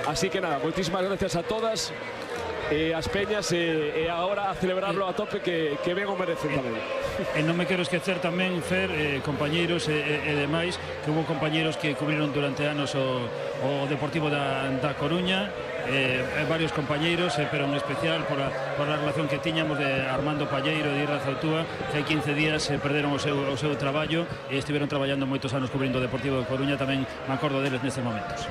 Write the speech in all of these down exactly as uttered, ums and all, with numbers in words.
Así que nada, moitísimas gracias a todas e as peñas e, e agora a celebrarlo a tope que, que ben o merecen tamén. E non me quero esquecer tamén, Fer, eh, compañeiros e, e, e demais, que hubo compañeiros que cubriron durante anos o, o Deportivo da, da Coruña, eh, varios compañeiros, eh, pero en especial por a, por a relación que tiñamos de Armando Palleiro e de Irra Zautúa, que hai quince días eh, perderon o seu, o seu traballo e estiveron traballando moitos anos cubrindo o Deportivo da Coruña, tamén me acordo deles nestes momentos.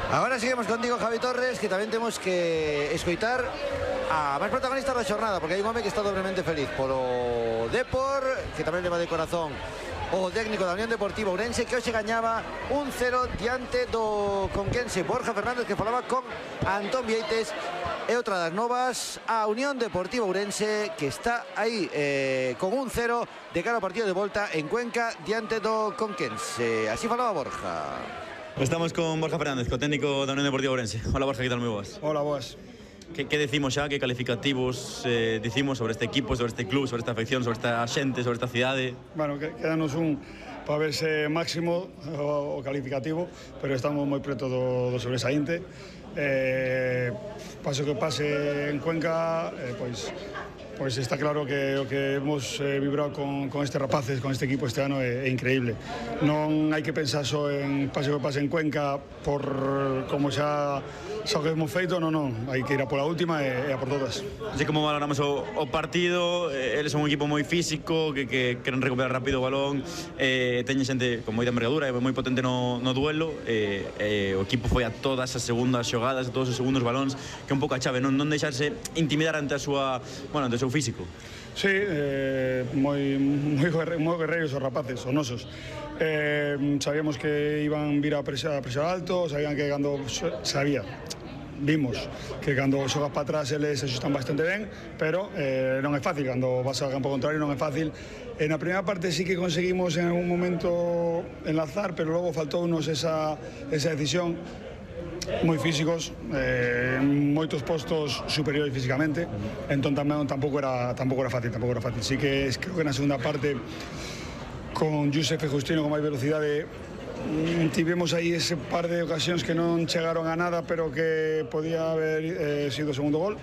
Agora seguimos contigo, Javi Torres, que tamén temos que escoitar a máis protagonistas da xornada, porque hai un home que está dobremente feliz polo Depor, que tamén leva de corazón o técnico da Unión Deportiva Ourense, que hoxe gañaba un cero diante do conquense Borja Fernández, que falaba con Antón Vieites. E outra das novas, a Unión Deportiva Ourense, que está aí eh, con un cero de cara ao partido de volta en Cuenca diante do conquense. Así falaba Borja. Estamos con Borja Fernández, co técnico da Unión Deportiva Ourense. Hola Borja, que tal, moi boas? Hola, boas. Que, que decimos xa, que calificativos eh, dicimos sobre este equipo, sobre este club, sobre esta afección, sobre esta xente, sobre esta cidade? Bueno, que, quedanos un para verse máximo o, o calificativo, pero estamos moi preto do, do sobresaínte. Eh, paso que pase en Cuenca, eh, pois Pois está claro que o que hemos eh, vibrado con, con estes rapaces, con este equipo este ano é, é increíble. Non hai que pensar só en pase que pase en Cuenca por como xa xa que hemos feito, non, non, hai que ir a pola última e, e a por todas. Así como valoramos o, o partido, eh, eles son un equipo moi físico, que, que queren recuperar rápido o balón, eh, teñen xente con moita envergadura e moi potente no, no duelo, eh, eh, o equipo foi a todas as segundas xogadas, a todos os segundos balóns, que é un pouco a chave, non, non deixarse intimidar ante a súa, bueno, ante o seu físico. Sí, eh, moi, moi, moi guerreiros os rapaces, os nosos. Eh, sabíamos que iban vir a presar, a presar alto, sabían que cando sabía, vimos que cando xogas para atrás eles se xustan bastante ben, pero eh, non é fácil, cando vas ao campo contrario non é fácil. En a primeira parte sí que conseguimos en algún momento enlazar, pero logo faltounos esa, esa decisión. Moi físicos, eh, moitos postos superiores físicamente, entón tamén tampouco era tampouco era fácil, tampouco era fácil. Sí que creo que na segunda parte con Josef e Justino con máis velocidade tivemos aí ese par de ocasións que non chegaron a nada, pero que podía haber eh, sido o segundo gol,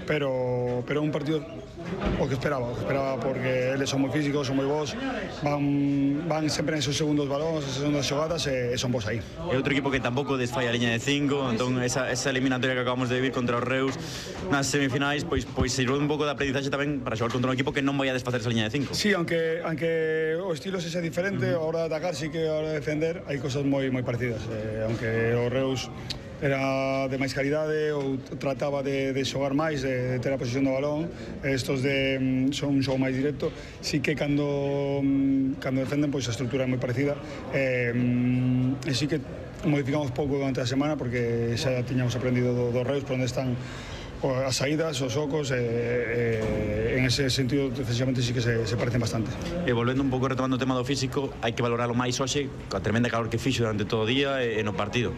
pero pero un partido o que esperaba, o que esperaba, porque eles son moi físicos, son moi bons, van, van sempre nesos segundos balóns, esas segundas xogadas e, e son bons aí. E outro equipo que tampouco desfalla a liña de cinco, entón esa, esa eliminatoria que acabamos de vivir contra os Reus nas semifinais, pois, pois sirve un pouco de aprendizaxe tamén para xogar contra un equipo que non vai a desfacer esa liña de cinco. Sí, aunque, aunque o estilo se sea diferente, uh -huh. a hora de atacar sí que a hora de defender hai cosas moi moi parecidas, eh, aunque o Reus era de máis calidade ou trataba de, de xogar máis, de, de ter a posición do balón, estos de son un xogo máis directo, sí que cando cando defenden pois a estrutura é moi parecida, eh, e sí que modificamos pouco durante a semana porque xa tiñamos aprendido do, do Reus por onde están as saídas, os ocos, e, e, en ese sentido defensivamente sí que se, se parecen bastante. E volvendo un pouco retomando o tema do físico, hai que valoralo máis hoxe, coa tremenda calor que fixo durante todo o día e, e no partido.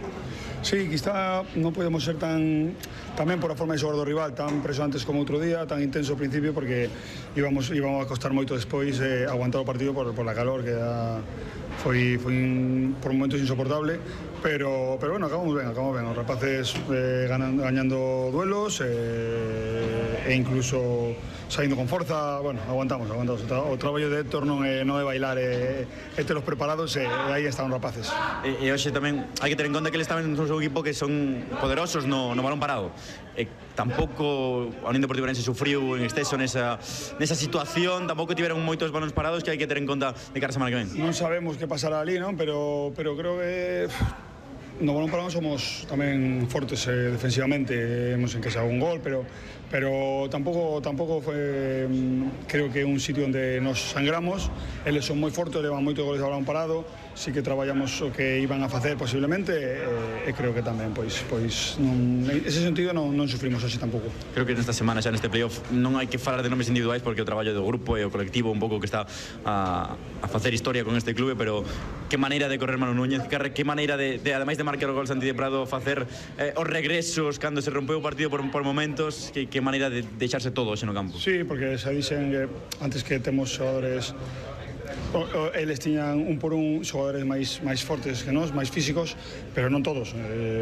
Sí, quizá non podemos ser tan tamén por a forma de xogar do rival tan presionantes como outro día, tan intenso ao principio, porque íbamos, íbamos a costar moito despois eh, aguantar o partido por, por la calor que era, foi, foi un, por momentos insoportable, pero, pero bueno, acabamos ben, acabamos ben, os rapaces eh, ganan, gañando duelos eh, e incluso saindo con forza, bueno, aguantamos, aguantamos. O traballo de Héctor non é, non é bailar, é, é telos preparados e, e aí están os rapaces. E, e hoxe tamén hai que ter en conta que eles tamén son un equipo que son poderosos no, no balón parado. E tampouco a Unión Deportiva Ourense sufriu en exceso nesa, nesa situación, tampouco tiveron moitos balóns parados que hai que ter en conta de cara a semana que ven. Non sabemos que pasará ali, non? Pero, pero creo que no balón parado somos tamén fortes eh, defensivamente, hemos encasado un gol, pero pero tampouco tampouco foi, creo que é un sitio onde nos sangramos. Eles son moi fortes, levan moitos goles de balón parado, sí que traballamos o que iban a facer posiblemente e, e creo que tamén pois pois non, en ese sentido non, non sufrimos así tampouco. Creo que nesta semana xa neste playoff non hai que falar de nomes individuais porque o traballo do grupo e o colectivo un pouco que está a, a facer historia con este clube, pero que maneira de correr Manu Núñez, que, que maneira de, de ademais de marcar o gol Santi de Prado, facer eh, os regresos cando se rompeu o partido por, por momentos, que, que maneira de deixarse todo hoxe no campo. Sí, porque xa dixen que antes que temos xogadores, o, o, eles tiñan un por un xogadores máis máis fortes que nós, máis físicos, pero non todos. Eh,